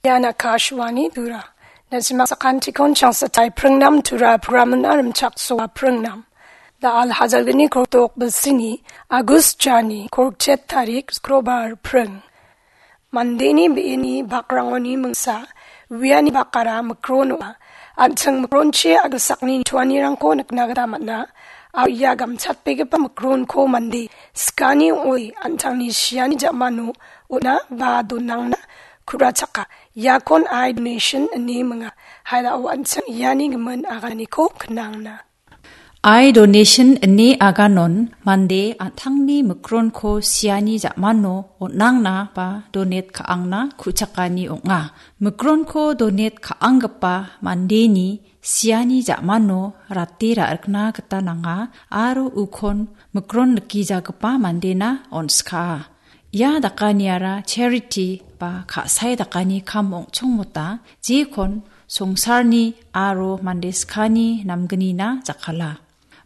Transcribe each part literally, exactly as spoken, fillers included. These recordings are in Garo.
Ian Akashvani Tura. Najima sakantikon changsatai pringnam Tura programna rimchaksoa pringnam. Da Al Hajalgni Kortok Bilsini, Agus Jani, Korkchet Tarik, Skrobar Pring. Mandeni be·eni bakrangoni mingsa, uiani bakara mikron ong·a. An·ching mikronchi agilsakni tuanirangko nikna gita man·a. Aro ia gamchatbegipa mikronko mande skani ong·oi an·tangni siani ja·mano on·a ba donangna ku·rachaka. Iakon eye donation ine minga. Hailao an·ching iani gimin aganiko knangna. Eye donation ine aganon mande an·tangni mikronko siani ja·mano on·angna ba donate ka·angna ku·chakani ong·a. Mikronko donate ka·anggipa mandeni siani ja·mano rate ra·rikna gita nanga aro ukon mikron rikijagipa mandena on·skaa. Ia dakaniara charity ba ka·sae dakani kam ong·chongmota jekon songsarni aro mande skani namgnina jakala.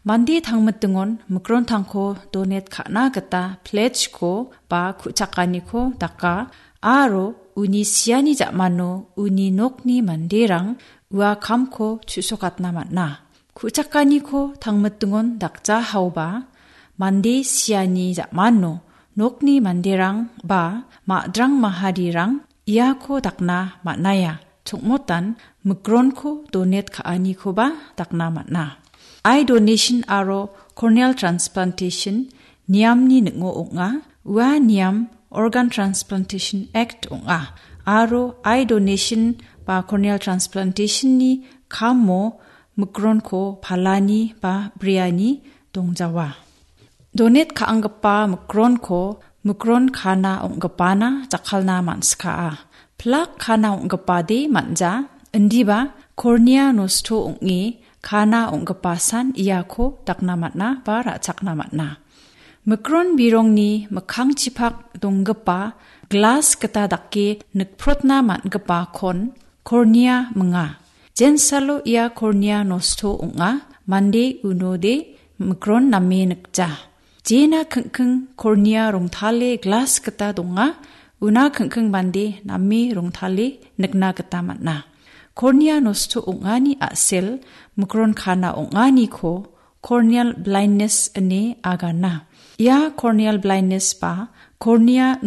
Mande tangmitingon mikrontangko donate ka·na gita pledge-ko ba ku·chakaniko daka aro uni siani ja·mano uni nokni manderang ua kamko chu·sokatna man·a. Ku·chakaniko tangmitingon dakja haoba, mande siani ja·mano nokni manderang ba ma·drang maharirang iako dakna man·aia. Chongmotan mikronko donate ka·anikoba dakna man·a. Eye donation aro corneal transplantation niamni ning·o ong·a. Ua niam Organ Transplantation Act ong·a. Aro eye donation ba corneal transplantation-ni kamo mikronko palani ba briani dongjawa. Donate ka·anggipa mikronko mikron kana ong·gipana jakkalna man·skaa. Plak kana ong·gipade man·ja, indiba kornia nosto ong·e kana ong·gipasan iako dakna man·a ba ra·chakna man·a. Mikron birongni mikkangchipak donggipa glas gita dake nikprotna man·gipakon kornia minga. Jensalo ia kornia nosto ong·a, mande unode mikron name nikja. Jena kingking kornia rongtale glas gita donga, una kingking mande name rongtale nikna gita man·a. Kornia nosto ong·ani a·sel mikron kana ong·aniko corneal blindness ine agana. Ia corneal blindness ba kornia